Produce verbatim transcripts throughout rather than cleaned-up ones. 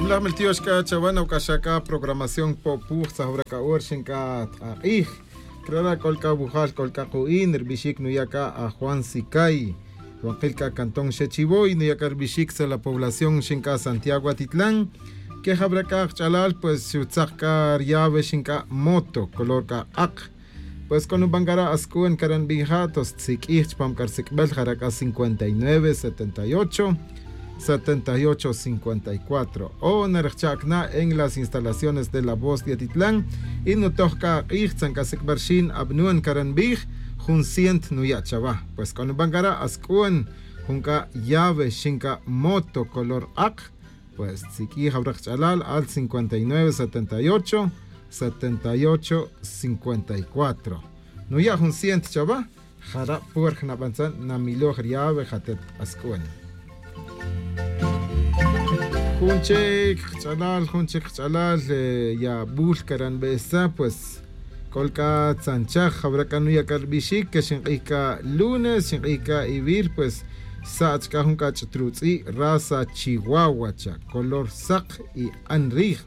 Laj miltiox c'a chawe noc'axa c'a programación po'puj tzajwra c'a hora xin c'a tk'ak'ij. Crara c'ol c'a wujal c'ol c'a ku'in ri bixic nuya' c'a a juan sicay. Ruwankil c'a cantón xechivoy nuya' c'a ri bixic tzala población xin c'a santiago atitlan. Que jawra c'a kach'alal pues xutzak c'a ri llave xin c'a moto color c'a k'ak. Pues c'o nuban c'a ra' asc'uwen caranbija' tos tziq'uij chupam c'a ri sic'bel jara' c'a cincuenta y nueve setenta y ocho setenta y ocho cincuenta y cuatro. O narejcha' cana' en las instalaciones de la voz de atitlan. Y nutoj c'a ak'ij tzan c'a sic'bel rixin abnun caranbij jun ciento nuya' chawa. Pues c'o nuban c'a ra' asc'uwen jun c'a llave xin c'a moto color k'ak. Pues tziq'uij jawra kach'alal al cincuenta y nueve setenta y ocho setenta y ocho cincuenta y cuatro. Nuya' jun ciento chawa. Jara' puerj nabantzan namiloj ri llave jatet asc'uwen. Jun chic kach'alal jun chic kach'alal. Yabul caranbesa pues c'ol c'a tzanchaj jawra c'a nuya' c'a ri bixic que xink'ij c'a lunes xink'ij c'a ivir pues xsach' c'a jun c'a ch'ut rutz'i' raza chihuahua cha color sak y an rij.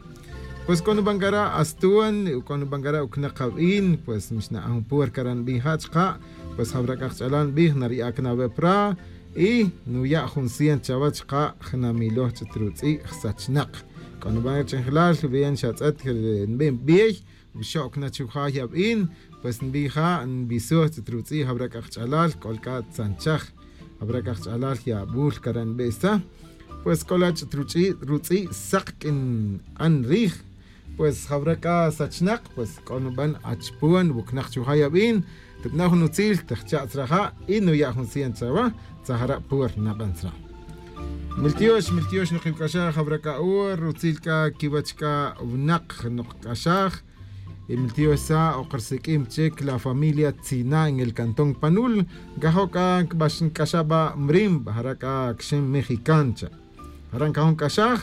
Pues c'o nuban c'a ra' astuwan c'o nuban c'a ra' ucnak abin pues mixna'an jun puerca ra' nbin ja' chaka'. Pues jawra c'a kach'alal nbij nariya' cana' awe' pra y nuya' jun ciento chawe chaka' jnamiloj ch'ut rutz'i' jsachnak. C'o nuban c'a ch'injelal bien xatz'et nbin bey. Xo'c na chuja' yabin pues nbin ja' nbisoj ch'ut rutz'i' jawra c'a kach'alal c'ol c'a tzanchaj. Jawra c'a kach'alal yabul cara' nbesa. Pues c'o la ch'ut rutz'i' sak q'uin an rij. Pues jawra c'a sachnak pues c'o nuban achpon wucnak chuja' yabin. Tibna' jun utzil tejcha' tzra ja' y nuya' jun ciento chawa. Tzajara' puer naban tzra. Miltiox miltiox nukiwc'axaj jawra c'a ur rutzil c'a quiwech c'a winak nokc'axaj. Y miltiox sa' ok risiq'uim chic la familia tzina en el cantón panul. Ncajo' c'a nbax nc'axaj ba mrim jara' c'a quixin mexican cha'. Jara' ncajo' nc'axaj.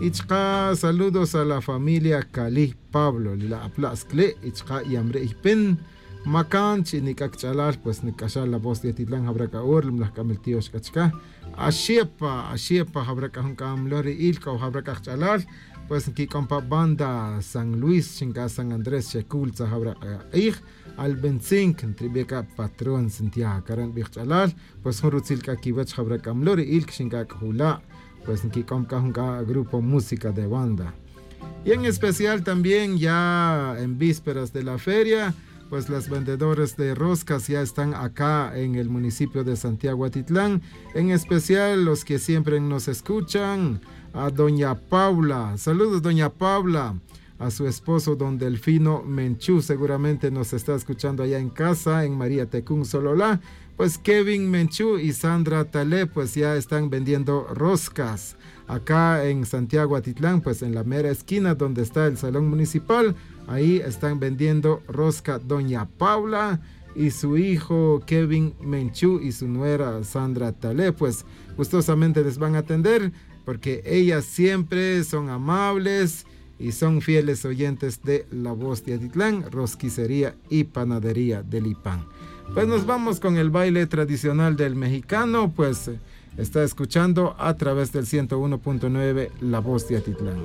Y chaka' saludos a la familia cali pablo li la apla' scli' y chaka' yamri' ypin. Macan chi nic'a kach'alal pues nc'axaj la voz de atitlan jawra c'a ur limlaj c'a miltiox c'a chaka'. Axepa axepa jawra c'a jun c'a mlori'il c'o jawra c'a kach'alal. Pues nquic'om pa banda san luis xin c'a san andrés xecul tzajawra c'a k'ij. Al veinticinco ntribi' c'a patrón santiago cara' nbij kach'alal. Pues jun rutzil c'a quiwech jawra c'a mlori'il quixin c'a c'o jula'. Pues nquic'om c'a jun c'a grupo música de banda. Y en especial también ya en vísperas de la feria pues las vendedores de roscas ya están acá en el municipio de santiago atitlan. En especial los que siempre nos escuchan a doña paula saludos doña paula, a su esposo don delfino menchú seguramente nos está escuchando allá en casa en maría tecún solola. Pues kevin menchú y sandra talé pues ya están vendiendo roscas acá en santiago atitlan pues en la mera esquina donde está el salón municipal. Ahí están vendiendo rosca doña paula y su hijo kevin menchú y su nuera sandra talé pues gustosamente les van a atender. Porque ellas siempre son amables y son fieles oyentes de la voz de atitlán rosquicería y panadería del ipán. Pues nos vamos con el baile tradicional del mexicano pues está escuchando a través del ciento uno punto nueve la voz de atitlán.